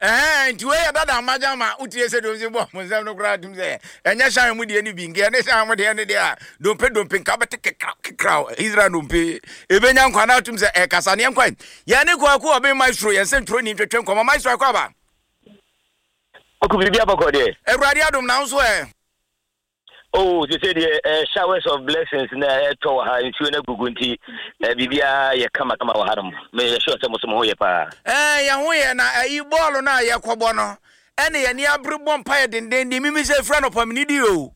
Ɛhɛn, nti wei yɛ dada mmagya ma wotie sɛ deɛ ɔsi bɔ mo nsɛm no koraa tum sɛ ɛnyɛ hyɛn mu deɛ no bi nka ɛne hyɛn mu deɛ no deɛ a dompe dompe nka bɛte kekraw kekraw Israel dompe ebenya nkwa na atum sɛ ɛkasa neɛ nkwan yɛn ne kwaku ɔben maestro yɛn sɛ ntwerɛ ni ntwetwe nkɔmɔ maestro akɔ aba. Kwaku biribi abɔkɔ deɛ. Awurade adom na nso ɛ. Oh, sese deɛ eh, showers of blessings na ɛtɔ wɔ ha, nsuo no agugu nti eh, biribiara yɛ kamakama wɔ hanom. Meyɛ sure sɛ mo so mo ho yɛ paa. Eh, yɛn ho yɛ na ayi bɔɔlo no a yɛkɔbɔ no ɛne yɛn ani abere bɔ mpaeɛ dendenden mimi sɛ ɛfiri anɔpa mene di o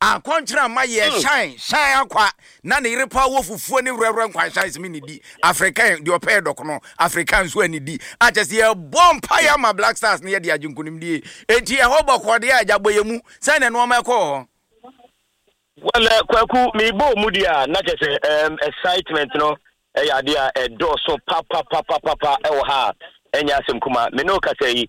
akɔnkyerɛ ama yɛ hmm. shine shine akwa na ne yere paa wɔ fufuo ne werɛwerɛ nkwan shine sɛ mene di African deɛ ɔpɛ yɛ dɔkono African nso ani di akyɛ sɛ yɛbɔ mpaeɛ ama Black Stars ne yɛde agye nkonimdie enti ɛhɔ bɔkɔɔ deɛ agya bɔ yɛ mu Sɛn na nneɛma ɛkɔɔ hɔ? Well, eh, Kwaku, mebɔ mu deɛ a, na kyerɛ sɛ um, excitement no ɛyɛ adeɛ a ɛdɔɔso papapapapa ɛwɔ ha a ɛnyɛ asɛm kuma. Me ne wo kasa yi,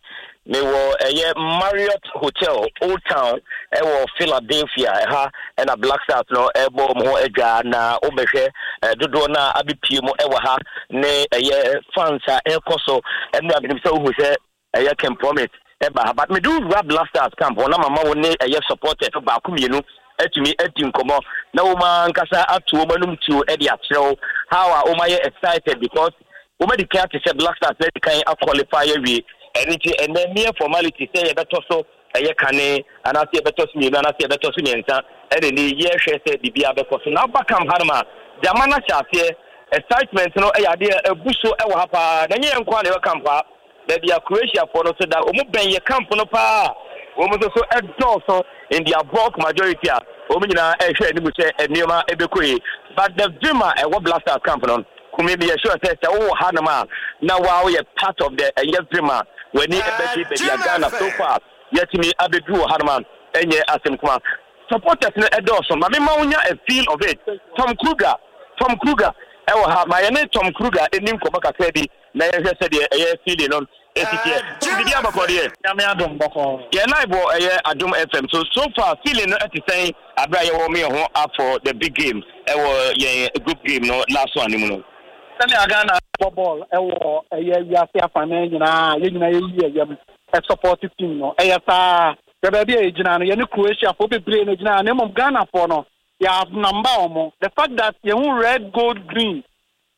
mewɔ ɛyɛ Marriott Hotel, Old Town, ɛwɔ Philadelphia. Ɛha ɛna Black Stars no ɛbɔ wɔn ho adwa na wobɛhwɛ dodoɔ no a abɛpie mu ɛwɔ ha ne ɛyɛ fans a ɛrekɔ so. Ɛno a menim sɛ wohu sɛ Ɛyɛ Ken Promise ɛba ha but mede wo wura Blasters camp hɔ na mama wo ne ɛyɛ supporters no baako mmienu atumi adi nkɔmmɔ na wɔn ankasa ato wɔn anum tuo de akyerɛ wo how a wɔn ayɛ excited because wɔn adi kan ate sɛ Black Stars adi kan aqualify awie ɛno nti ɛnɛ mere formality sɛ yɛbɛtɔ so ɛyɛ kane anaasɛ yɛbɛtɔ so mmienu anaasɛ yɛbɛtɔ so mmiɛnsa ɛna ni yɛhwɛ sɛ biribiara bɛkɔ so na aba camp hanom a gyama no ahyɛ aseɛ excitement no ɛyɛ adeɛ abu so ɛwɔ ha paa na ɛnyɛ yɛn nko ara na ɛwɔ camp ha. Baabi a Croatiafoɔ no nso da, wɔn bɛn yɛ camp no paa. Wɔn nso so dɔɔso in their bulk majority a wɔn nyinaa ɛrehwɛ anim sɛ nneɛma ɛbɛkɔ yie. But the vim a ɛwɔ Black Stars camp no, Kumi meyɛ sure sɛ sɛ wowɔ hanom a na waa woyɛ part of the ɛyɛ vim a w'ani ɛbɛgye baabi a Ghana so far yɛatumi abɛduru wɔ hanom a ɛnyɛ asɛm kuma. Supporters no ɛdɔɔso. Ma memma wonya a feel of it. Tom Kruger, Tom Kruger ɛwɔ ha. Ma yɛne Tom Kruger ɛni nkɔmmɔ kakra bi. Na yɛnhwɛ sɛdeɛ ɛyɛ feeling no ɛsi teɛ. Biribi abɔkɔ deɛ. Nyame adom bɔkɔɔ. Yɛ live wɔ ɛyɛ Adom FM so. So far feeling no ɛte sɛn aberɛ a yɛwɔ yɛn ho up for the big game ɛwɔ yɛn group game no last one no mu no? Sɛnea Ghana bɔ bɔɔl ɛwɔ ɛyɛ wiase afanan nyinaa a yɛn nyinaa yɛyi yɛn yam ɛsupporte team no ɛyɛ saa. Hwɛ baabi a yɛgyina no, yɛne Croatiafoɔ bebree na ɛgyina ha na mmom Ghanafoɔ no yɛ outnumber wɔn. The fact that yɛhu red, gold, green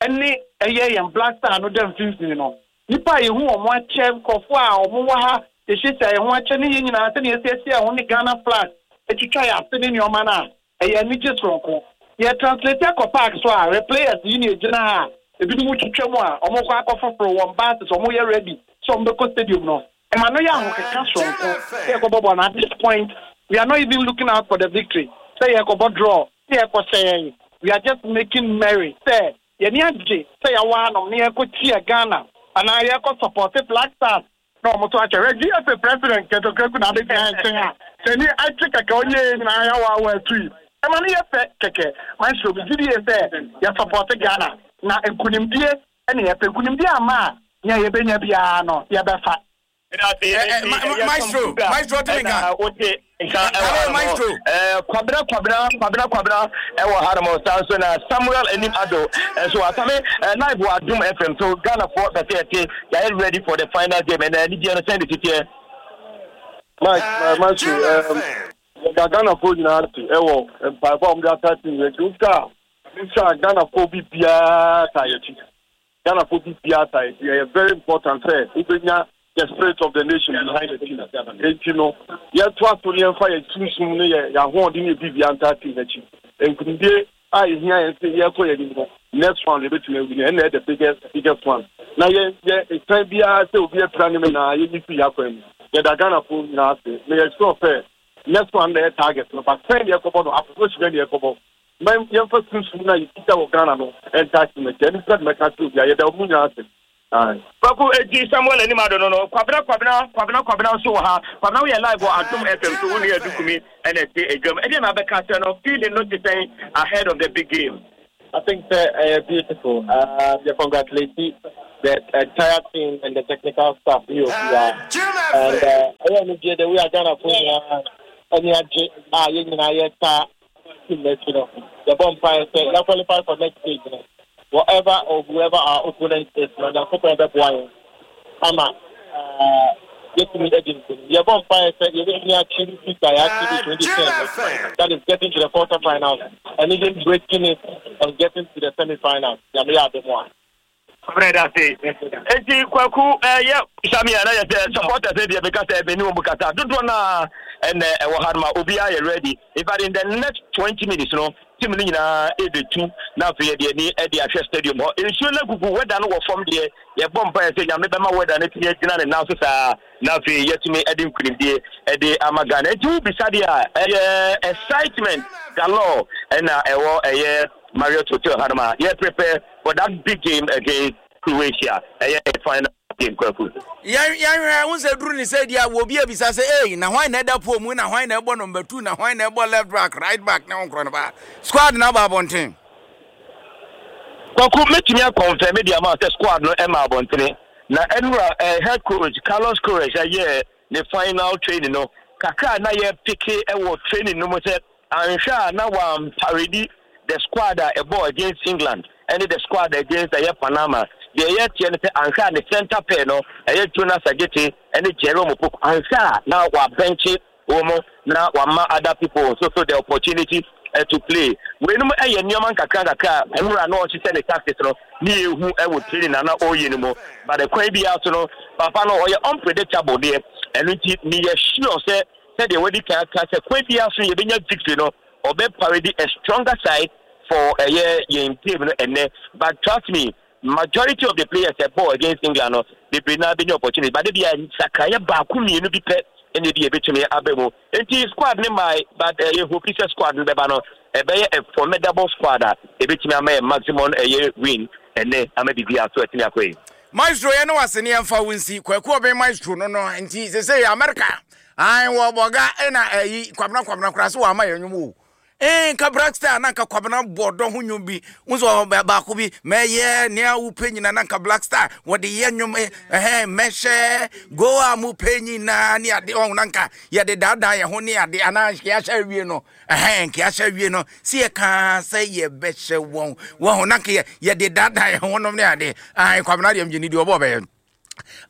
ne ɛyɛ yɛn Black Star no da mfimfini no. Nnipa a yɛhu wɔn akyɛ, nkurɔfoɔ a wɔwɔ ha, yɛhyiahyia yɛn ho akyɛ ne yɛn nyinaa sɛdeɛ yɛasiesie yɛn ho ne Ghana flag atwitwa yɛn ase ne nneɛma no a, ɛyɛ anigye soronko. Yɛ translate akɔ park so a, hwɛ players yi na ɛgyina ha a, ebinom twitwa mu a, wɔrekɔ akɔfoforo wɔn buses, wɔyɛ ready sɛ wɔbɛkɔ stadium no. Ɛma no yɛ ahokeka soronko sɛ yɛkɔbɔ bɔɔl no. At this point, we are not even looking out for the victory, sɛ yɛrekɔbɔ draw, sɛ yɛrekɔhyɛ yɛn, we are just making merry sɛ yɛn ani agye sɛ yɛawɔ hanom na yɛrekɔkyia Ghana anaa yɛrekɔ supporte Black Stars na wɔn nso akyɛ. Hwɛ GFA president Kurt Okraku na abɛgyina yɛn nkyɛn a n'ani agye kɛkɛ, ɔnyɛ yɛn nyinaa yɛawaawa atui. Ɛma no yɛ fɛ kɛkɛ. Maestro, megye die sɛ yɛ supporte Ghana na nkunimdie na yɛpɛ. Nkunimdie amma a, nea yɛbɛnya biara no, yɛbɛfa. Maestro, maestro tumi nka. Wote nka ɛwɔ ha nom. Kwabena Kwabena Kwabena Kwabena ɛwɔ ha nom. Saa nso na Samuel Anim Ado nso wɔ asame live wɔ Adum FM so. Ghana foɔ bɛsɛ yɛte yɛayɛ ready for the final game ɛnna anigyeɛ no sɛn de titeɛ. Mike, maestro, yɛda Ghanafoɔ nyinaa ase ɛwɔ mpaebɔ a wɔde ata team yɛn akyi. Wohwɛ a, wohwɛ a Ghanafoɔ bi biara ta yɛn akyi. Ghanafoɔ bi biara ta yɛn akyi. Ɛyɛ very important sɛ wobɛnya the spirit of the nation behind the team. Enti no, yɛtoa so ne yɛmfa yɛn sunsum ne yɛn ahoɔden ne yɛn biribiara ntaa team no akyi. Nkunimdie a ɛhia yɛn sɛ yɛrekɔ yɛn anim no, next round yɛbɛtumi awi no, ɛnna ɛyɛ the biggest biggest one. Na yɛn yɛ ɛsan biara sɛ obi apira ne me na yɛnyi firi yɛn akwan mu. Yɛda Ghanafoɔ nyinaa ase. Meyɛ sure sɛ next one na ɛyɛ target no, but sɛn na yɛkɔbɔ no, approach bɛn na yɛkɔbɔ. Ma yɛmfa sunsum no a yɛkita wɔ Ghana no ntaa team akyi. Ɛno pɛ na mɛka akyerɛ obiara. Yɛda wɔn nyinaa ase. Aye. Kwaku eti Samuel anim ado no no Kwabena Kwabena Kwabena Kwabena nso wɔ ha Kwabena woyɛ live wɔ Adom FM so wo nua Adu Kumi ɛna ɛte adwam ɛdeɛn na abɛka akyerɛ no feeling no te sɛn ahead of the big game. I think sɛ ɛyɛ beautiful um, yɛ congratulate the entire team and the technical staff ne obiara and ɛyɛ anigye the way a Ghana fo nyinaa ani agye a yɛn nyinaa yɛta team no akyi no, yɛbɔ mpaeɛ sɛ yɛ qualify for next stage no, whatever or whoever our opponent is no, Nyankopɔn bɛboa yɛn ama eh, yɛatumi adi nkonim. Yɛbɔ mpaeɛ sɛ yɛbɛtumi achieve feat a yɛachieve 2010 no, that is getting to the quarter finals and even breaking it and getting to the semi finals, Nyame yɛ adom a. Brɛ da se. Enti Kwaku yɛ bisa me a na yɛ sɛ supporters no deɛ meka sɛ me ne wɔn kasa dodoɔ no a ɛnɛ ɛwɔ ha no ma obiara yɛ ready. In fact, in the next 20 minutes no team no nyinaa ɛbɛtu na afei yɛde ani de ahwɛ stadium hɔ. Nsuo no agugu, weather no wɔ fam deɛ yɛbɔ mpaeɛ sɛ Nyame bɛma weather no atumi agyina ne nan so saa na afei yɛatumi de nkunimdie de ama Ghana. Enti wobisa deɛ a ɛyɛ excitement galore ɛna ɛwɔ ɛyɛ Marriott Hotel hanom a yɛ prepare for that big game against Croatia. Ɛyɛ final game, Kwaku. Yɛn yɛnhwɛ ho sɛ duru ne sɛ di a wɔ obi abisa sɛ ei na hwan na ɛda pole mu na hwan na ɛbɔ number 2 na hwan na ɛbɔ left back, right back ne ho nkorɔ no ba squad na aba abɔnten. Kwaku, mɛtumi akɔnfɛme de ama sɛ squad no ɛma abɔntene na ɛnura head coach Carlos Queiroz ɛyɛɛ ne final training no kakra a na yɛ peke ɛwɔ training no mu sɛ anhwɛ a na wamparedi the squad a ɛbɔɔ against England ɛne the squad against ɛyɛ Panama. Deɛ ɛyɛ teɛ no sɛ anhwɛ a ne center pair no ɛyɛ Jonas Adjetey ɛne Jerome Opoku, anhwɛ a na wabɛnkye wɔn na wama other people nso so the opportunity to play. Weinom yɛ nneɛma nkakra nkakra a nwura na ɔhyehyɛ ne tactics no ne yɛhu wɔ training na na ɔreyɛ no mu. But kwan biara so no, papa no ɔyɛ unpredictable deɛ. Ɛno nti meyɛ sure sɛ sɛdeɛ wadi kan aka sɛ kwan biara so yɛbɛnya victory no, ɔbɛ parade a stronger side for ɛyɛ yɛn game no ɛnɛ. But trust me, majority of the players ɛbɔɔ against England no, bebree naa bɛnya opportunity, but ebia nsakraeɛ baako mmienu bi pɛ ɛna ebi ebetumi aba mu. Nti squad ne mae, but ɛyɛ hope sɛ squad no bɛba no ɛbɛyɛ a formidable squad a ebetumi ama yɛ maximum ɛyɛ win ɛnɛ ama biribi aso ɛtumi akɔ yi. Maestro yɛ ne wase ne yɛmfa wo nsi. Kwaku Ɔben Maestro no no nti sesei America ae wɔ bɔga ɛna ɛyi Kwabena Kwabena koraa so wama yɛ nwom o. Ee nka Black Star na nka Kwabena bɔ dɔ ho nwom bi. Wo nso baako bi mɛyɛ nea wopɛ nyina na nka Black Star wɔde yɛ nwom ɛhɛn mɛhyɛ go a mopɛ nyina ne ade ɔho na nka yɛde daadaa yɛn ho ne ade anaa yɛahyɛ awie no ɛhɛn nka yɛahyɛ awie no si yɛ kaa sɛ yɛbɛhyɛ wɔn wɔn ho na nka yɛ yɛde daadaa yɛn ho nom ne ade ae Kwabena deɛ mgye ne di ɔbɔ ɔbɛyɛ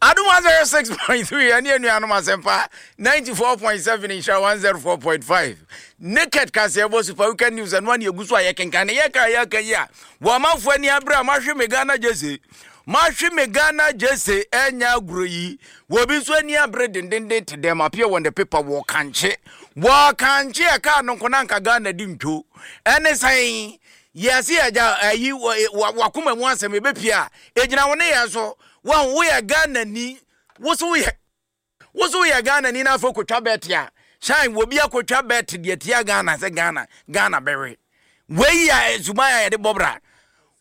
Adom 106.3 ɛne anuanom asɛmpa 94.7 nhyira 104.5 Naked kaseɛbɔ Super Weekend News ɛno ane ɛgu so a yɛkenkan ne yɛka yɛka yi a wɔamanfoɔ ani abere a mahwe me Ghana gyese mahwe me Ghana gyese ɛnyɛ agorɔ yi wɔbi nso ani abere dendenden te dɛm appear wɔ the paper wɔ kankye wɔ kankye ɛkaa no nko na nka Ghana di ntwo ɛne sɛn yɛse yɛgya ayi wakoma mu asɛm ɛbɛpie a ɛgyina wo ne yɛn so. Wahu, woyɛ Ghanani, wo so woyɛ, wo so woyɛ Ghanani na afei kotwa bɛt a, shine, obi akotwa bɛt deɛ tia Ghana sɛ Ghana, Ghana bɛwe. Wei yɛ suban a yɛde bɔ bra.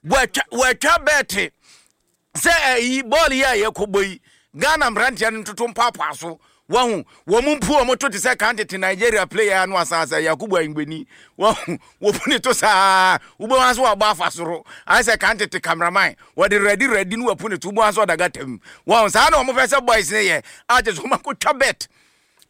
Wɔatwa, wɔatwa bɛt sɛ ɛyi bɔɔl yi a yɛkɔbɔ yi, Ghana mmeranteɛ no ntoto mpaapaa so. Wahu, wɔn mpu wɔn to te sɛ kan tete Nigeria player no asaasa Yakubu Ayingbeni. Wahu, wɔpu ne to saa, wobɛhu ase wɔabɔ afa soro. Ayɛ sɛ kan tete cameraman, wɔde rɛdi rɛdi no wapu ne to, wobɛhu ase ɔda gata mu. Wahu, saa na wɔn pɛ sɛ boys no yɛ, a kyerɛ sɛ wɔn akɔtwa bet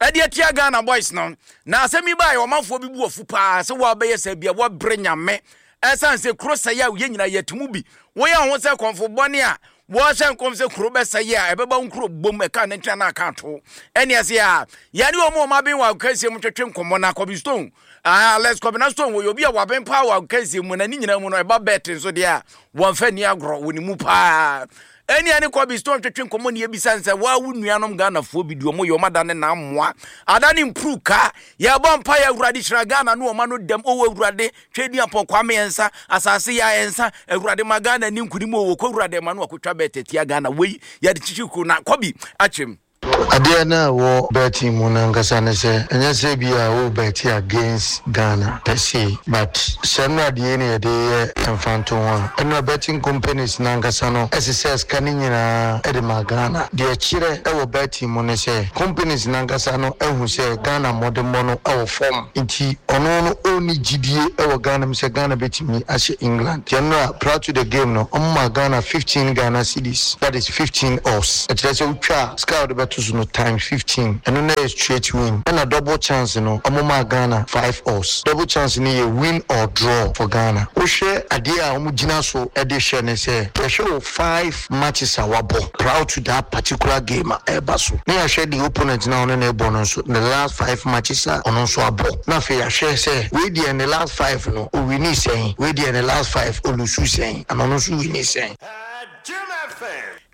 ɛde atia Ghana boys no. Na asɛm yi baeɛ, ɔmanfoɔ bi bu afu paa sɛ wɔabɛyɛ sɛ bia wɔabrɛ Nyame. Ɛsiane sɛ kuro sɛe a yɛn nyinaa yɛte mu bi. Woyɛ ho sɛ kɔmfo bɔne a wɔhyɛ nkɔm sɛ kuro bɛsɛe a ɛbɛba wo nkuro bom ɛka ne ntena na aka ato. Ɛne ɛsɛ a yɛne wɔn a wɔn aben wɔ agokansie mu twetwe nkɔmmɔ na Kobe Stone, Alex Kobena Stone wɔyɛ obi a waben paa wɔ agokansie mu na ne nyinaa mu no ɛba bet nso deɛ a wɔmfa nni agorɔ wɔ ne mu paa. Ɛne ɛne Kobe Stone twetwe nkɔmmɔ ne yɛbisa no sɛ waa wo nuanom Ghanafoɔ bi deɛ wɔyɛ wɔn adane na mmoa adane mpuruka. Yɛbɔ mpaeɛ Awurade hyira Ghana ne wɔn ano dɛm o Awurade Tweduampɔn Kwame Ɛnsa, asase yi a ɛnsa, Awurade ma Ghana ni nkunim o, wɔkɔ Awurade ma no akotwa bɛɛt atia Ghana, wei yɛde kyekye kuro na kɔbi akyerɛ mu. Adeɛ no a ɛwɔ betting mu no ankasa ne sɛ, ɛnyɛ sɛ ebia wo bet against Ghana per se, but sɛ nnora deɛ yi na yɛde reyɛ mfantoho a, nnora betting companies no ankasa no sesɛɛ sika no nyinaa de maa Ghana. Deɛ ɛkyerɛ wɔ betting mu ne sɛ, companies no ankasa no ahu sɛ Ghana mmɔdemmɔ no wɔ fam. Nti ɔno no ɔnni gyidie wɔ Ghana mu sɛ Ghana bɛtumi ahyɛ England. Nti ɛno a prior to the game no ɔmo maa Ghana 15 Ghana cedis, that is 15 us. Ɛkyerɛ sɛ wotwa a sika a wode bɛtɔ. ato so no times 15, ɛno na ɛyɛ straight win. Ɛna double chance no ɔmo maa Ghana 5 odds. Double chance no yɛ win or draw for Ghana. Wohwɛ adeɛ a ɔmo gyina so de hwɛ ne sɛ, yɛhwɛ wo 5 matches a wabɔ prior to that particular game a ɛreba so, na yɛahwɛ the opponent no a ɔne no rebɔ no nso ne last 5 matches a ɔno nso abɔ, na afei yɛahwɛ sɛ wei deɛ ne last 5 no owinii sɛn, wei deɛ ne last 5 olusu sɛn, ana ɔno nso winii sɛn.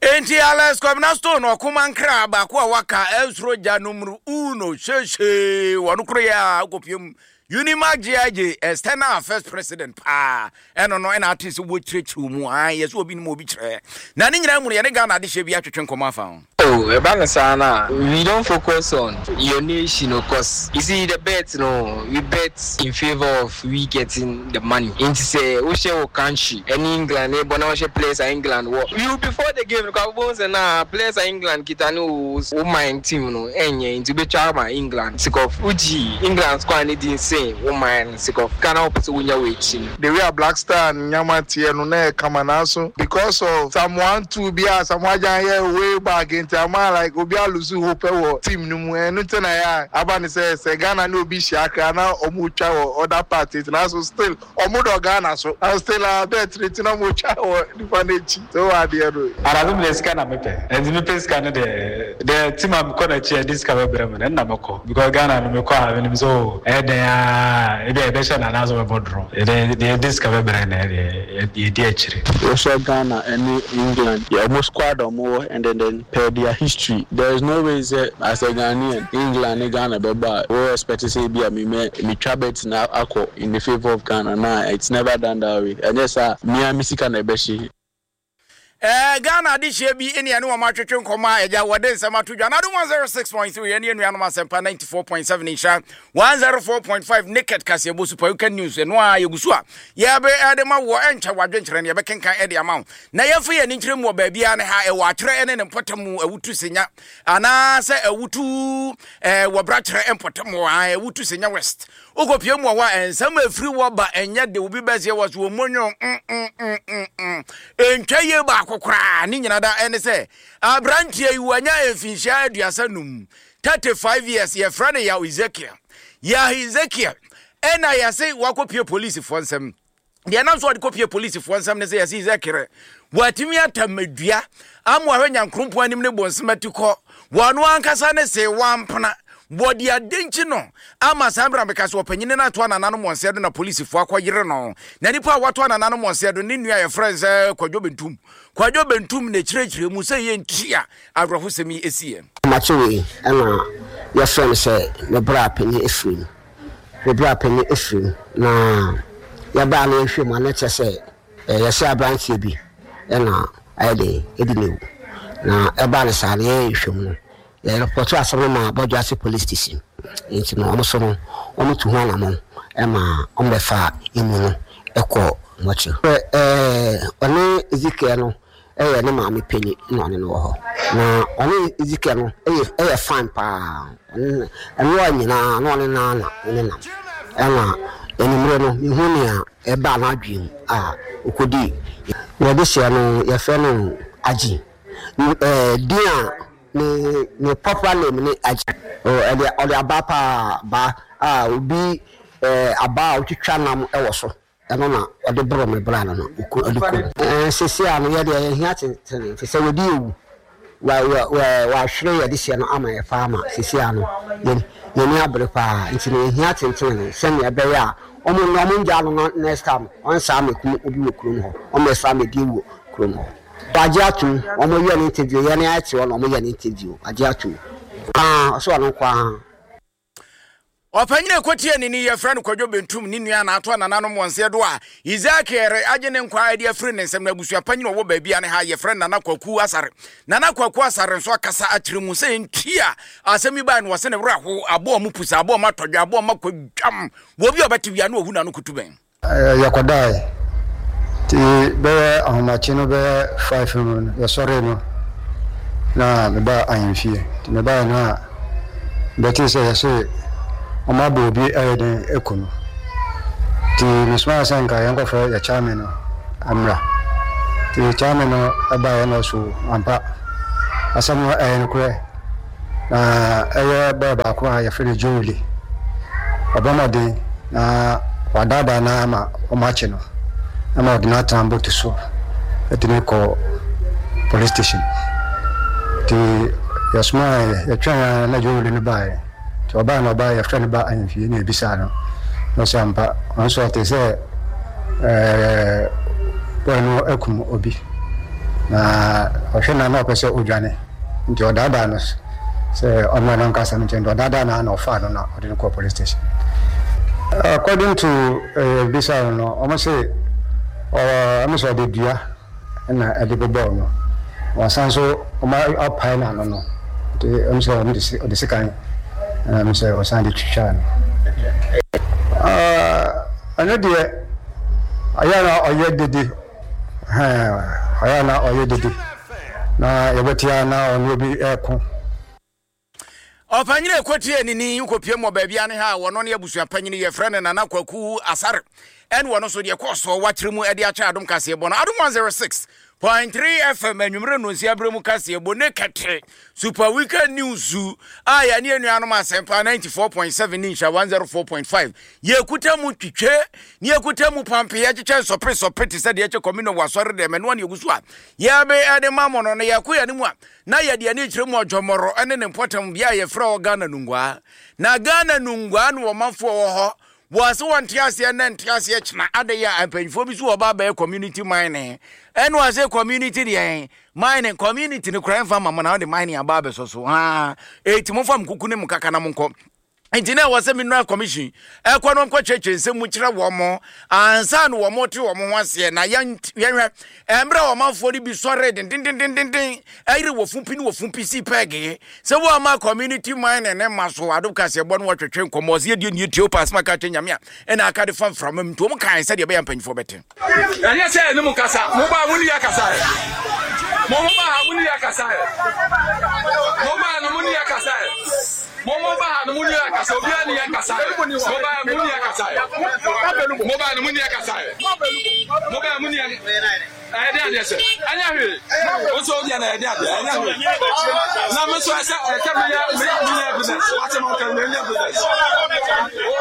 Enti Alex Kwabena Stone ɔkoma nkra baako a waka ɛnsoro gya numero uno hyehyee wɔn koro yɛ a wokɔpiem Unimark GIJ external affairs president paa ɛno no ɛna ate sɛ wɔkyerɛkyerɛ mu a yɛ sɛ obi nim obi kyerɛ na ne nyinaa mu no yɛne Ghana adehyɛ bi atwetwe nkɔmmɔ afa ho. Oh ɛba no saa no a we don't focus on your nation o cos you see the bet no we bet in favour of we getting the money nti sɛ wohyɛ wo country ɛne England rebɔ na wohyɛ players a England wɔ you before the game no koraa wobɛhu sɛ na players a England kita ne wo wo man team no ɛnyɛ nti wobɛtwa ama England sake of wogye England squad no di sen wo man no sake of sika na wopɛ sɛ wonya wɔ akyi no. The way a Black Star nneɛma teɛ no na ɛyɛ kama nanso because of some one two bi a Asamoah Gyan yɛɛ way back nti ama like obi a lose hope wɔ team no mu ɛno nti na ɛyɛ a aba no sɛ sɛ Ghana ne obi hyia koraa na ɔmo twa wɔ other part nti nanso still ɔmo dɔ Ghana so and still a bet no nti na ɔmo twa wɔ nipa no akyi so wɔ adeɛ no. Anadwo me deɛ sika na mepɛ nti mepɛ sika no deɛ deɛ team a mekɔ n'akyi a ɛde sika bɛbrɛ me no ɛno na mɛkɔ because Ghana no mekɔ a menim sɛ oh ɛyɛ dɛn ara ebi a yɛbɛhyɛ no anaasɛ ɔbɛbɔ draw yɛde deɛ ɛde sika bɛbrɛ no deɛ yɛdi akyire. Wohwɛ Ghana ɛne England yɛ ɔmo squad a ɔmo wɔ and then then per their history there is no way sɛ as a Ghanaian England ne Ghana bɛbɔ a wo expect sɛ ebi a me mɛ me twa bet no akɔ in the favour of Ghana nah it's never done that way ɛnyɛ saa a me ara me sika na ɛbɛhye. Ɛɛ Ghana adehyeɛ bi ne ɛne wɔn atwetwe nkɔmmɔ a agya wɔde nsɛm ato dwa. N'adom 106.3 ɛne anuanom asɛmpa 94.7 nhyira 104.5 naked kaseɛbɔ super you can news ɛno a yɛgu so a yɛbe ɛde ma wɔ ɛnkyɛ wadwenkyerɛ no yɛbɛkenkan ɛde ama wo na yɛmfa yɛn ani nkyerɛ mu wɔ baabiara ne ha ɛwɔ atwerɛ ɛne ne mpɔtam mu awutu senya anaasɛ awutu ɛɛ wɔ brakyerɛ mpɔtam wɔ awutu senya west Wokɔpue mu wɔ hɔ a, nsɛm a ɛfiri hɔ ba ɛnyɛ de obi bɛseɛ wɔ so wɔmmɔ nwom mm-mm-mm-mm. Ɛntwa yie baako koraa. Ne nyina da ɛne sɛ, aberanteɛ yi wanya mfinhyia 35, 35 years, yɛfrɛ no Yaw Ezekiel. Yaw Ezekiel ɛna yɛse wakɔpue polisifoɔ nsam. Deɛ ɛnam so ɔde kɔpie polisifoɔ nsɛm ne sɛ yɛse sɛ kerɛ wɔatumi atammadua ama wahwɛ nyankrompɔn anim ne bonsem atikɔ wɔno ankasa ne se wampena wɔde adenkyi no ama saa mmerɛ meka sɛ ɔpanyini no ato anananom wɔn nsɛ do na polisifoɔ akɔyere no na nipa a wato anananom wɔn nsɛ do ne nua yɛfrɛ no sɛ Kwadwo Bentum Kwadwo Bentum na ɛkyerɛkyerɛ mu sɛ yɛnti a awerɛhosɛm yi ɛsiiɛ. Amakye wei na yɛfrɛ no sɛ me bra panin afiri mu. Me bra panin afiri mu na yɛbaa na yɛhwɛ mu a na kyerɛ sɛ yɛsɛ aberanteɛ bi na ayɛ den ɛdi ne wu. Na ɛbaa no saa no yɛyɛ nhwɛ mu no yɛrepɔto asɛm no ma Bɔdwoase police station. Nti no wɔn so no wɔn tu ho anamɔn ma wɔn bɛfa emu no kɔ mɔkyere. Ɔne Ezekiel no yɛ ne maame panyin na ɔne no wɔ hɔ. Na ɔne Ezekiel no yɛ yɛ fine paa. Ɔne no ɛnoa nyinaa na ɔne no ara na ɔne nam. Ɛna anwummerɛ no mehu nea ɛbaa n'adwene mu a ɔkɔdii. Yɛde hyɛ no yɛfrɛ no Agye. Ɛɛ din a ne ne popular name ne Agye. Ɔde ɔde abaa paa abaa a obi ɛɛ abaa a wotwitwa nam wɔ so. Ɛno na ɔde boro me bra no na ɔku ɔde ku me. Ɛɛ seesei a no yɛ deɛ yɛhia tentene te sɛ wɔdi awu wa wa wa wahwere yɛ dehyeɛ no ama yɛ paa ma seesei a no yɛn yɛn ani abere paa nti no yɛhia tentene no sɛnea ɛbɛyɛ a wɔn no wɔn ngyaa no na next time ɔnsaa mɛkum obi wɔ kurom hɔ ɔmmɛsaa mɛdi awu wɔ kurom hɔ. Wagye atom wɔn yɛ no interview yɛn ayɛ te hɔ na wɔn yɛ no interview wagye atom paa ɔsɛ ɔno nko ara. Ɔpanyin a ɛkɔtiee ne ni yɛfrɛ no Kwadwo Bentum, ne nua na ato anananom wɔn nsa do a Ezekiel agye ne nkwa de afiri ne nsam. Na abusua panyin a ɔwɔ baabi a ne ha yɛfrɛ no Nana Kwaku Asare. Nana Kwaku Asare nso akasa akyerɛ mu sɛ nti a asɛm yi bae no wɔse ne werɛ ahow, aboa ɔmo pusa, aboa ɔmo atɔdwe, aboa ɔmo akwadwam. Wɔ obi a ɔbɛte wia na ohu n'ano kutu bɛn. Yɛkɔdae, ntsi bɛyɛ ahomakye no bɛyɛ five mu no yɛsɔree no na mebaa ahemfie. Ntsi mebae no a mebɛtsee sɛ yɛse wɔabɔ obi ayɛ dɛn eku no. Ntsi mesomaa sɛ nka yɛnkɔfrɛ yɛ chairman no ɔmmra. Ntsi chairman no baeɛ na ɔse ampa asɛm no ɛyɛ nokorɛ. Na ɛyɛ bɔyɛ baako a yɛfrɛ no Joeli. Ɔbɔ mmɔden na wadaadaa no ara ma wɔakye no ma wɔde no atena boat so de no kɔ police station. Nti yɛsomaa yɛtwɛn ara na Joeli no baeɛ. Nti ɔbaeɛ na ɔbaeɛ yɛfrɛ no ba ahemfie na yɛbisaa no na ɔsɛ ampa ɔno nso ɔte sɛ ɛɛ bɔyɛ no akum obi na ɔhwɛ no na ɔpɛ sɛ ɔdwane. Nti ɔdaadaa no sɛ ɔmmra na ɔnka asɛm nkyerɛ no. Nti ɔdaadaa no ara na ɔfaa no na ɔde no kɔɔ police station. According to yɛbisaa no no, wɔn se ɔno sɛ ɔde dua na ɛde bobɔɔ no. Wɔsan nso wɔn apae n'ano no, nti wɔn sɛ wɔn de ɔde sekan na wɔn sɛ ɔsan de twitwaa no. Ɛno deɛ ɔyɛ na ɔyɛ dede. Ɛhɛn, ɔyɛ a na ɔyɛ dede, na yɛbɛte a na ɔne obi reko. Ɔpanyin a ɛkɔtiee ne ni kɔpie mmɔ baabi a ne ha a wɔno ne abusua panyin yɛfrɛ no Nana Kwaku Asare ɛne wɔno nso deɛ ɛkɔɔ soɔ wakyerɛ mu de akyɛ Adom kaseɛbɔ no Adom 106.3 FM anwummerɛ nnonsia berɛ mu kaseɛbɔ ne kɛte Super Weekend News a yɛne anuanom Asɛmpa 94.7 ne Nhyira 104.5 yɛkuta mu twitwe ne yɛkuta mu pampe yɛkyekyɛ nsɔpe sɔpe te sɛ deɛ ɛkyɛ kɔmi no wɔ asɔre dɛm ɛnoa ne yɛgu so a yɛbe ɛde ma mo no no yɛko yɛne mu a na yɛde ani kyerɛ mu ɔdwɔmɔrɔ ne ne mpɔtam bea a yɛfrɛ hɔ Ghana Nungua na Ghana Nungua no ɔmanfoɔ wɔ hɔ Wɔ se wɔnte aseɛ nnɛ nte aseɛ kyena adɛn a mpanyinfoɔ bi so wɔ ba abɛyɛ community mining ɛna wɔ se community deɛ mining community no koraa mfa ma mo na wɔde mining aba abɛsɔ so haa eti mo fa mo kuku ne mo kaka na mo nkɔ nti na ɛwɔ sɛ mineral commission ɛkɔ no nkɔ kyerɛkyerɛ nsɛm mu kyerɛ wɔn mo ansa na wɔn te wɔn ho aseɛ na yɛn yɛnhwɛ mmerɛ a ɔmanfoɔ no bi sɔree dendendendenden ɛyere wɔ fumpi ne wɔ fumpi sii pɛɛgee sɛ wɔama community mining ne ma so adom kaseɛbɔ no wɔtwetwe nkɔmmɔ ɔsɛ yɛdeɛ nie tie wopa asɛm aka kyerɛ Nyame a ɛna aka de fa mframa mu nti wɔn kae sɛdeɛ ɛbɛyɛ mpanyinfoɔ bɛte. Ɛnyɛ sɛ yɛne mo kasa. Mo baa mo ne yɛ kasa ɛ. Mo mo baa ha mo ne yɛ kasa ɛ. Mo baa no mo ne yɛ kasa ɛ. Mo mo baa ha no mo ne yɛ kasa. Obiara ne yɛ kasa ɛ. Mo baa mo ne yɛ kasa ɛ. Mo baa no mo ne yɛ kasa ɛ. Mo baa mo ne yɛ. Ɛyɛ den adeɛ sɛ ɛnyɛ hwee. Wo nso wodeɛ na ɛyɛ den adeɛ ɛnyɛ hwee. Na me nso ɛsɛ ɛsɛ meyɛ meyɛ business. Wate ma ɔka meyɛ business.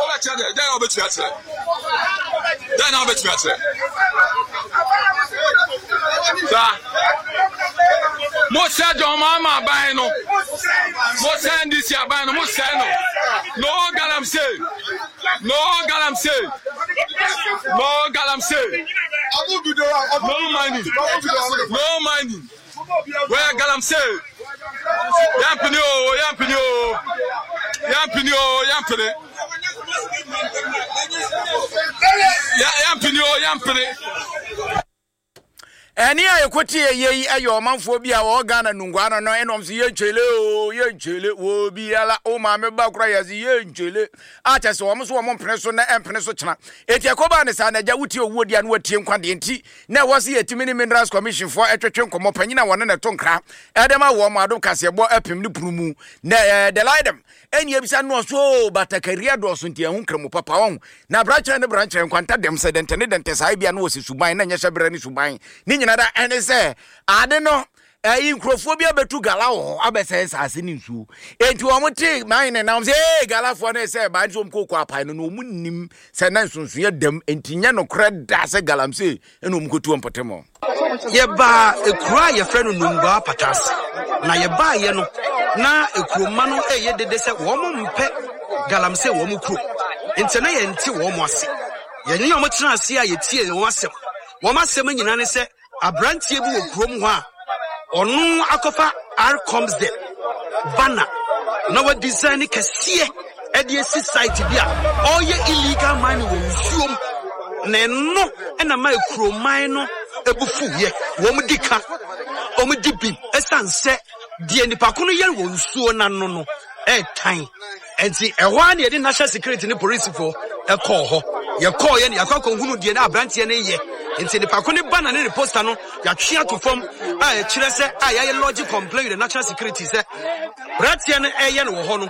Wobɛkyerɛ deɛ dɛn na wobɛtumi akyerɛ? Dɛn na wobɛtumi akyerɛ? Saa. Mo sɛ John Mahama aban no. Mo sɛ NDC aban no. Mo sɛ no. No galamsey. No galamsey. No galamsey. No money. No money. Where galamsey? Yampini o, yampini o. Yampini o, yampini. Yampini o, yampini. Ɛne a yɛkɔtie yɛ yi yɛ ɔmanfoɔ bi a wɔwɔ Ghana nungua no no ɛna wɔn sɛ yɛnkyele o yɛnkyele wɔ biara o maame ba kora yɛ sɛ yɛnkyele a kyɛ sɛ wɔn so wɔn mpene so na ɛmpene so kyena eti ɛkɔbaa ne saa na agya wotie owuo deɛ na watie nkwa deɛ nti na ɛwɔ sɛ yɛtumi ne Minerals Commission foɔ ɛtwetwe nkɔmmɔ panyin a wɔne ne to nkra ɛde ma wɔn adom kaseɛbɔ apem ne pono mu na ɛɛ delaidem Ɛnni abisa nnɔɔso oo, batakari adɔɔso nti ɛho nkramu papa ɔho. Na brankyerɛ ne brankyerɛ, nkwanta dɛm sɛ dɛntɛ ne dɛntɛ saa ebia na wɔsi suban na ɛnyɛ hyɛbrɛ ne suban. Ne nyina da ɛne sɛ ade no ɛyi nkurɔfoɔ bi abɛtu gala wɔ hɔ abɛsɛe nsaase ne nsuo. Enti wɔn te man ne nam sɛ ee galafoɔ no sɛ ɛbaa nti wɔn kɔkɔ apae no na wɔn nim sɛ na nsonsonoeɛ dam enti nyɛ nokorɛ da sɛ galamsey ɛna wɔn kɔtu wɔn mpɔtam hɔ. Yɛbaa ekuro a yɛfrɛ no Nungua Apata ase, na yɛbaeɛ no, na ekuromma no reyɛ dede sɛ wɔn mpɛ galamsey wɔ wɔn kuro, nti na yɛnte wɔn ase. Yɛne wɔn tenaa ase a yɛtiee wɔn asɛm. Wɔn asɛm nyinaa ne sɛ aberanteɛ bi wɔ kurom hɔ a ɔno akɔfa Rcomsdem banner na wadesign ne kɛseɛ de asi site bi a ɔreyɛ illegal mining wɔ nsuom na ɛno na ma kuroman no bu fuiɛ. Wɔn di ka, wɔn di bim ɛsiane sɛ deɛ nipa ko no yɛ wɔ nsuo no ano no ɛretan. Nti ɛhɔ ara na yɛde national security ne polisifoɔ ɛkɔɔ hɔ. Yɛkɔɔ yɛ no yɛakɔ akɔhunu deɛ na aberanteɛ no yɛ. Nti nipa ko no ba na ne ne poster no yɛatwe ato fam a ɛkyerɛ sɛ a yɛayɛ lodge complaint with the national security sɛ Aberanteɛ no reyɛ no wɔ hɔ no,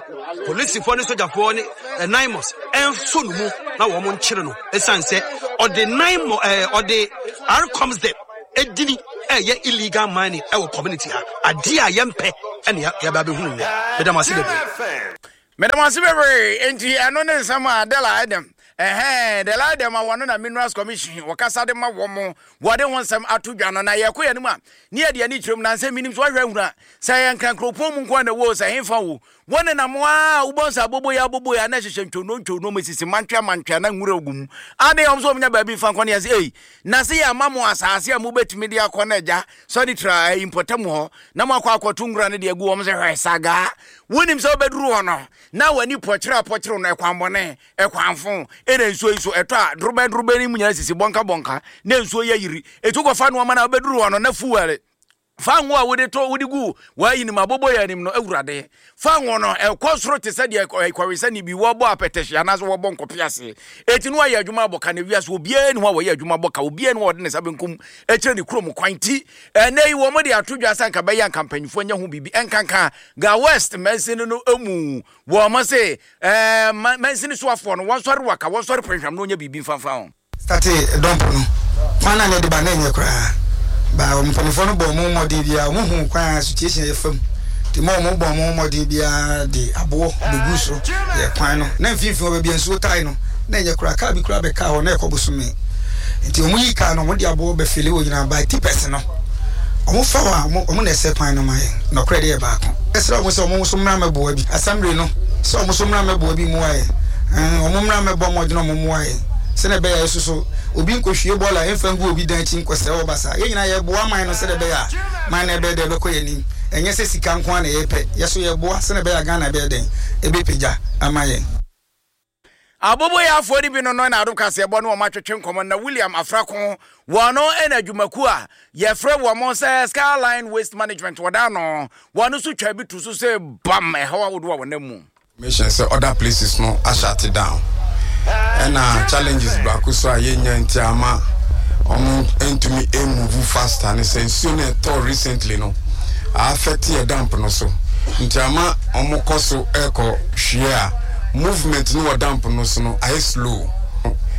polisifoɔ ne sogyafoɔ ne Naimos nso no mu na wɔn nkyere no ɛsiane sɛ ɔde Naimo ɛɛ ɔde Rcomsdep edini ɛyɛ illegal mining ɛwɔ community ha adeɛ a yɛmpɛ. ɛne yɛaba abɛhunu nnɛ. Meda mo ase bebree. Meda mo ase bebree. Enti ɛno ne nsɛm a Della Edem, ɛhɛn, Della Edem a wɔno na Minerals Commission wɔkasa de ma wɔn, wɔde ho nsɛm ato dwa no. Na yɛkɔ yɛn anim a, ne yɛde ani kyerɛ mu. Na nsɛm menim sɛ woahwɛ ahunu a, sɛ ɛyɛ Nkran kuropɔn mu nko ara na ɛwɔ o, sɛ hefa o, wɔnenam a wobɔ nsa aboboyɛ aboboyɛ a na ɛhyehyɛ ntwonoo ntwonoo mu sisi mantwea mantwea na nwura gu mu. Ade wɔn nso wɔnya baabi mfa nkɔ ne yɛn sɛ, ei, na se yɛama mo asaase a mobɛtumi de akɔ na agya sɔre tra ayi mpɔtam hɔ na moakɔ akɔto nwura no de agu wɔn sɛ hwɛ sagaa. Wonim sɛ wobɛduru hɔ no na w'ani pɔkyerɛ apɔkyerɛ no ɛkwanbɔne, ɛkwanfo, ɛna nsuo yi so ɛtɔ a dorobɛn dorobɛn no mu nyinaa sisi bɔnka bɔnka na nsuo yi ayiri. Ɛtu kɔfa nnoɔma no a wobɛduru hɔ no na fuel Fa ngo a wode to wode gu w'ayinom aboboyaa anim no, Awurade. Fa ngo no, ɛkɔ soro te sɛ deɛ kɔwensani bi wɔbɔ apɛtɛhye anaasɛ wɔbɔ nkɔpe ase. Enti no ayɛ adwuma abɔ ka na wiase obiara ni hɔ a wɔyɛ adwuma bɔ ka, obiara ni hɔ a ɔde ne nsa benkum kyerɛ ne kurom kwan. Nti ɛnnɛ yi wɔn de ato dwa sɛ anka bɛyɛ anka mpanyinfoɔ nyɛ ho biribi ɛnkanka Ga West mansini no mu. Wɔn se ɛɛ mansini soafoɔ no wɔnsɔre waka, wɔnsɔre pɛnhwam na wɔnyɛ biribi mfanfa ho. Startee dɔmp no, kwan no a na ɛde ba no na ɛnyɛ koraa. Ba wɔn mpanimfoɔ no bɔɔ wɔn ho mmɔden biara, wɔn huu kwan a situation yɛ fam. Nti ma wɔn bɔɔ wɔn ho mmɔden biara de aboɔ bɛguu so yɛ kwan no. Na mfimfini hɔ baabi a nsuo tae no, na ɛnyɛ koraa. Kaa bi koraa bɛkaa hɔ na ɛkɔ bosome. Nti wɔn yii kaa no, wɔn de aboɔ bɛfili hɔ nyinaa. By tipɛs no, wɔn fa hɔ a, wɔn na ɛsɛ kwan no ma yɛn. Nɔkorɛ deɛ yɛ baako. Yɛsrɛ wɔn sɛ wɔn nso mmra mmɛboa bi. Assembly no, sɛ wɔn nso mmra mmɛboa bi mmoa yɛn. Wɔn mmra mmɛbɔ mmɔden wɔn mmoa yɛn. Sɛnea ɛbɛyɛ a yɛsoso obi nkɔhwie bɔɔla mfa ngu obi dan akyi nkɔsɛe hɔ basaa. Yɛn nyinaa yɛreboa man no sɛdeɛ ɛbɛyɛ a man no ɛbɛyɛ dɛn ɛbɛkɔ yɛn anim. Ɛnyɛ sɛ sika nko ara na yɛrepɛ. Yɛn nso yɛreboa sɛdeɛ ɛbɛyɛ a Ghana ɛbɛyɛ dɛn ɛbɛpagya ama yɛn. Aboboyaafoɔ no bi no no na Adom Kaseɛbɔ ne wɔn atwetwe nkɔmmɔ na William Afrako wɔn no na adwumakuo a yɛfrɛ wɔn sɛ Skyline Waste Management wɔda ano wɔn nso twaa bi to so sɛ bam ɛhaw ahodoɔ a wɔnam mu. Mission sɛ other places no ashut down ɛna challenges baako so a yɛnya nti ama ɔmo ntumi move faster ne sɛ nsuo no ɛtɔ recently no affect yɛ dump no so nti ama ɔmo kɔ so ɛkɔ hwie a movement no wɔ dump no so no ayɛ slow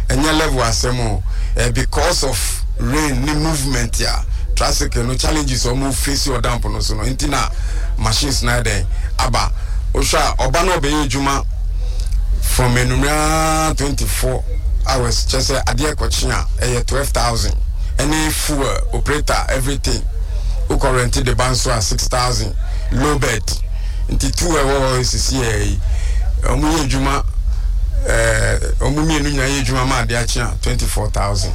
ɛnyɛ level asɛm o eh, because of rain ne movement a traffic no challenges ɔmo face wɔ dump no so no nti na machines no ayɛ dɛn aba Wohwɛ a ɔba na ɔbɛyɛ adwuma from anwummerɛ ara 24 hours kyerɛ sɛ adeɛ kɔkye a ɛyɛ 12000 ɛne fuel operator everything wokɔ rent de ba nso a 6000 low bed nti two ɛwɔ hɔ sisi yɛ yi wɔn yɛ adwuma ɛɛ wɔn mmienu nyinaa yɛ adwuma ma adeɛ akye a 24000.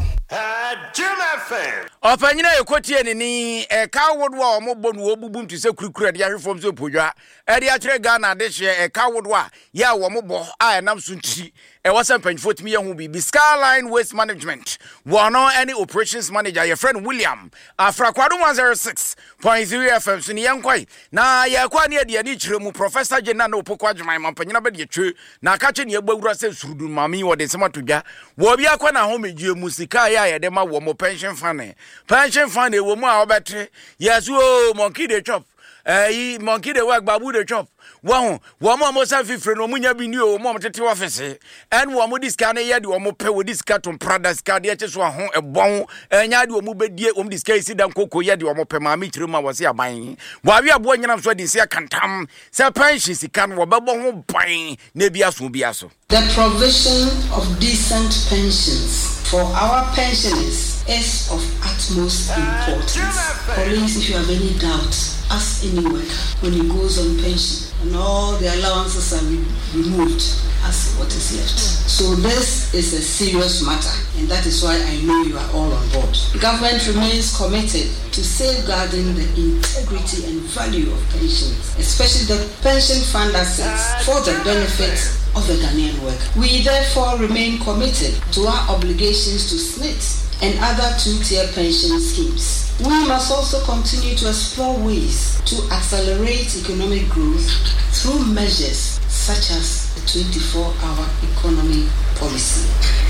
Ɔpanyin a yɛkɔtie ne ni, ɛka ahodoɔ a wɔbɔ no wɔbubu te sɛ kurikuri a ɛde ahwe fam sɛ podwa. Ɛde akyerɛ Ghana adehyeɛ ɛka ahodoɔ a yɛ a wɔn bɔ a ɛnam so nti ɛwɔ sɛ mpanyinfoɔ tumi yɛ ho biribi. Skyline Waste Management wɔn ne Operations Manager yɛfrɛ no William Afra Kwado 106.3 FM so ne yɛnkɔe na yɛkɔ a ne yɛde ani kyerɛ mu Professor Jane Nana Opoku Agyemang mampanyin abadiakyire na aka kyɛ ne yɛbɔ awura sɛ surudu maame yi wɔde nsɛm ato dwa wɔ obi akɔ n'ahomegyeɛ mu sika a yɛ a yɛde ma wɔ mo pension fund pension fund ɛwɔ mu a wɔbɛte yɛso o monkey dey chop ɛyi monkey dey work babu dey chop wɔn wɔn a wɔn san fifire no wɔn nya bi ni o wɔn a wɔn tete ɔfisi ɛna wɔn de sika no yɛ deɛ wɔn pɛ wɔde sika to mprada sika adeɛ kye so aho ɛbɔn ɛnya deɛ wɔn bɛdie wɔn de sika esi dan koko yɛ deɛ wɔn pɛ maame kyerɛ mu a wɔsi aban wɔawe aboɔ nyinam so adi nsi akantam sɛ pɛnhye sika no wɔbɛbɔ ho ban na ebi aso bi aso. The provision of decent pensions for our pensioners is of utmost importance. Colleagues, if you have any doubt, ask any worker when he goes on pension and all the allowances are re removed, ask what is left. So this is a serious matter, and that is why I know you are all on board. Government remains committed to safeguarding the integrity and value of pensions, especially the pension fund assets, for the benefit of the Ghanaian worker. We therefore remain committed to our obligations to SNIT and other two-tier pension schemes. We must also continue to explore ways to accelerate economic growth through measures such as the 24-hour economy policy,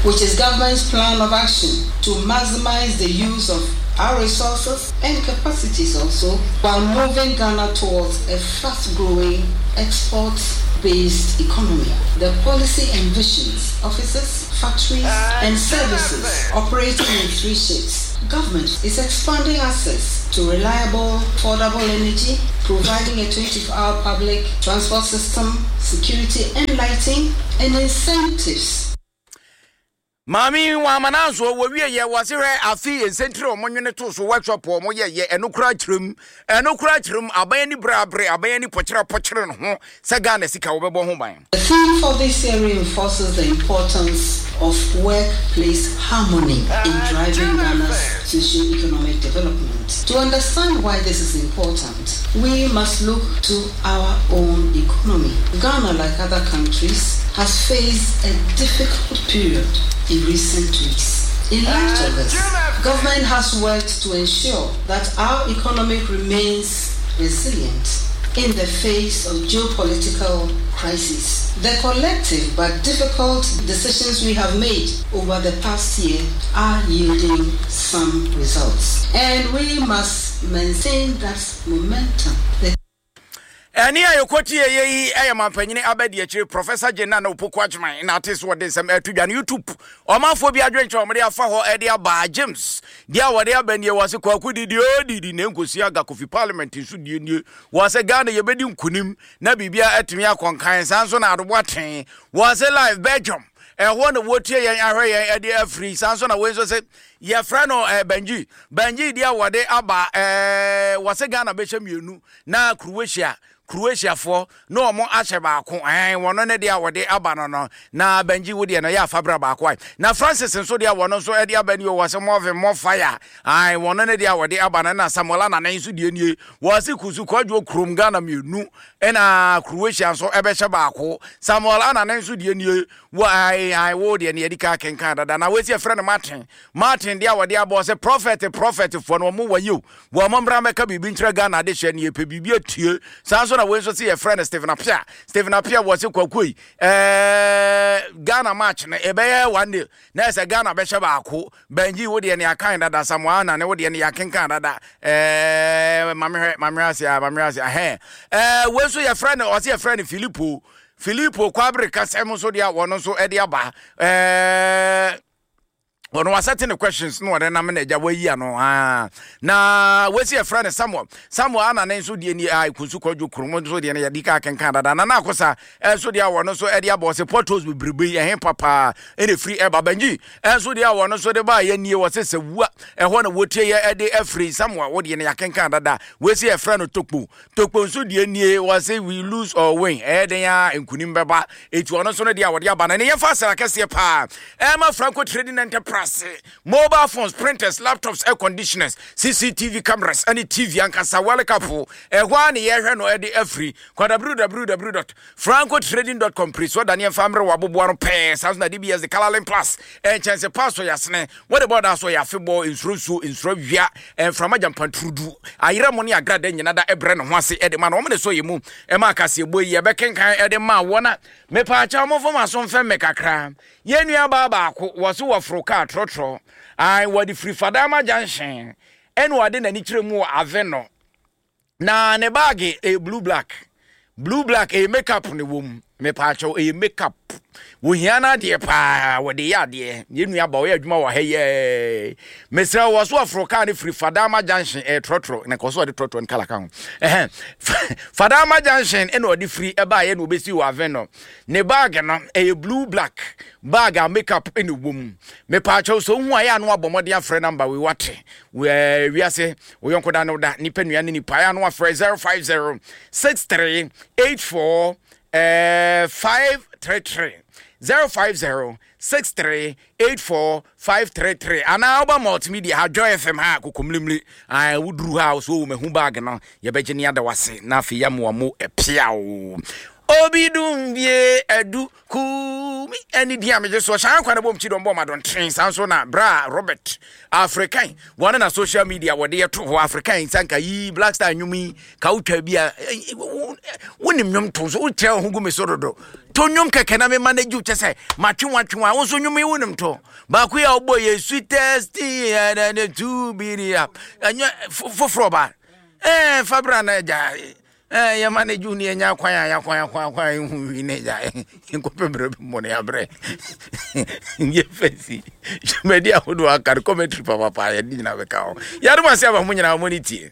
which is government's plan of action to maximize the use of our resources and capacities also while moving Ghana towards a fast-growing export-based economy. The policy envisions offices, factories, and services operating in three shifts. Government is expanding access to reliable, affordable energy, providing a 24 hour public transport system, security and lighting, and incentives. Maame yi wɔn amanansoɔ wɔwie yɛ wɔse hwɛ afe yɛ nsɛntire wɔn nwene to so workshop wɔn yɛ yɛ ɛno koraa kyerɛ mu ɛno koraa kyerɛ mu aban ani bere abere aban ani pɔkyerɛ pɔkyerɛ ne ho sɛ Ghana sika wɔbɛbɔ ho ban. The theme for this year reinforces the importance of workplace harmony in driving Ghana's socio-economic development. To understand why this is important, we must look to our own economy. Ghana, like other countries, has faced a difficult period in recent weeks. In light of this, government has worked to ensure that our economy remains resilient in the face of geopolitical crises. The collective but difficult decisions we have made over the past year are yielding some results. And we must maintain that momentum. The Ɛnne a yɛkɔtieeɛ yi yɛ mampanyini abadiakyire Professor Jane Nana Opoku Agyemang na ate so wɔde nsɛm ɛto dwa no YouTube. Ɔmanfoɔ bi adwenkyerɛ wɔde afa hɔ de aba James deɛ a wɔde aba nie wɔ se Kwaku didi o didi na nkosi aga Kofi Parliament nso die nie wɔ se Ghana yɛbɛdi nkunim na biribia atumi akɔ nkan saa nso na Adobo Aten wɔ se live Belgium ɛhɔ na wɔtie yɛn ahwɛ yɛn de afiri saa nso na wei nso se yɛfrɛ no eh, Benji Benji deɛ wɔde aba eh, wɔ se Ghana bɛhyɛ mmienu na Croatia Croatiafoɔ na wɔn ahyɛ baako ɛn wɔn ne deɛ a wɔde aba no no na Benji wo deɛ no yɛ afabra baako ae na Francis nso deɛ wɔn nso de aba nie wɔ se more more fire ae wɔn ne deɛ a wɔde aba no na Samuel Anane nso deɛ nie wɔ se kusu kwadwo kurom Ghana mmienu ɛna Croatia nso ɛbɛhyɛ baako Samuel Anane nso deɛ nie wɔ ae ae wo deɛ no yɛde ka kenkan dada na wɔsi ɛfrɛ no Martin Martin deɛ a wɔde abɔ sɛ prophet prophet foɔ no wɔn wɔ yi o Wɔn mmra mmɛka biribi nkyerɛ Ghana adehyeɛ no yɛpɛ biribi atie. Saa nso na wei nso se yɛfrɛ no Stephen Appiah. Stephen Appiah wɔ se kwaku yi ɛɛ Ghana match no ɛbɛyɛ one nil na ɛsɛ Ghana bɛhyɛ baako. Benji wo deɛ ne akan dada Samoa na ne wo deɛ ne yɛakenkan dada ɛɛ mamehwɛ mamehwɛ ase a mamehwɛ ase ahɛn ɛɛ wei nso yɛfrɛ no ɔse yɛfrɛ no Filippo Filippo Kwabere kasɛm nso deɛ wɔn nso ɛde aba ɛɛ ɔno wasɛte ne questions na ɔde nam na agya wayi ano aa na wasi ɛfrɛ no samuel samuel ana ne nso deɛ ni a kunsu kwadwo kurom nso deɛ no yɛde ka kenkan dada na na akosa ɛnso deɛ a wɔno nso ɛde abɔ ɔse potholes bebrebe yi ɛhe papaa ɛna ɛfiri ɛba banyi ɛnso deɛ a wɔno nso de ba yɛ nie wɔse sɛ wua ɛhɔ na wɔtie yɛ ɛde afiri samuel wo deɛ no yɛakenkan dada wasi ɛfrɛ no tokpo Tokpo nso deɛ nie wɔse we lose or win ɛyɛ den a nkunim bɛba eti ɔno nso no deɛ a wɔde aba no ɛne yɛmfa asɛm akɛseɛ paa ɛma Franco Trading Enterprise mobile phones printers laptops air conditioners CCTV cameras ɛne TV ankasa World Cup ɛhɔ a ne yɛhwɛ no ɛde afiri kɔ www.francotrading.com pere so ɔda ne yɛmfa mmerɛ wɔ aboboa no pɛɛ saa nso na DBS de Colorlink Plus ɛnkyɛnse paa so yɛasene Wɔde bɔ da so yɛ afebɔɔ nsuro nsuo, nsuro awia, mframa gyampanturudu, ayerɛmo ne agrada nyina da brɛ ne ho ase de ma no. Wɔn ne sɔ yɛ mu ma akaseɛbɔ yi yɛbɛkenkan de ma wɔn a mepaakyɛw momfa mo aso mfɛm me kakra. Yɛn nua baa baako wɔ so wɔforo kaa trɔtrɔ ae wɔde firi Fadama junction ɛna wɔde n'ani kyerɛ mu wɔ Aveno Na ne baage ɛyɛ blue black blue black ɛyɛ makeup ne wɔm mepaakyɛw ɛyɛ makeup wɔhia no adeɛ paa wɔde yɛ adeɛ yɛn nua ba ɔyɛ adwuma wɔ ha yɛɛ mesrɛ wɔ so aforo kaa no firi fadama junction ɛyɛ trɔtrɔ na kɔ so ɔde trɔtrɔ no kala ka ho ɛhɛn fadama junction ɛna ɔde firi ɛbaayɛ na ɔbɛsi wɔ aven no ne baage no ɛyɛ blue black bag a makeup ɛna wɔm mepaakyɛw sɛ wohu ayɛ ano abɔ mmɔden afrɛ namba wei wate wiase Wo yɔnko da ne wo da, nipa nua ne nipa. Ɛyɛ ano afrɛ 050 63 84 533 050 63 84 533 anaa woba multimedia ha Joy FM ha kokomlimli ah, woduru ha so wo mahu bag no yɛbɛgye ne ada wase na afei yɛamoa mo ɛpiaw obi dum bie adu Kumi ɛne din a megye soɔ hyɛ ankwa no bom kyidɔm bɔ madɔntene saa nso na bra Robert African wɔne na social media wɔde yɛto hɔ African nsanka yi Black Star nnwom yi ka wotwa bi a wonim nnwom to so wokyerɛ wo ho gu me so dodo to nnwom kɛkɛ na mema no gye kyɛ sɛ matwe watwe wa wo nso nnwom yi wonim to baako yi a wobɔ yɛ sweetest thing ɛne two bi ni a ɛnyɛ foforɔ ba ɛɛ fa bra na agya Eh, yɛ manage wo ne yɛnya kwan a yɛakwan akwan akwan a yɛhu wi ne gya nkɔpɛ berɛ bi mmɔ ne abrɛ yɛfɛ si dwumadi ahodoɔ aka no commentary papapa yɛde nyina bɛka ho yɛadom ase aba mo nyinaa mo ne tie.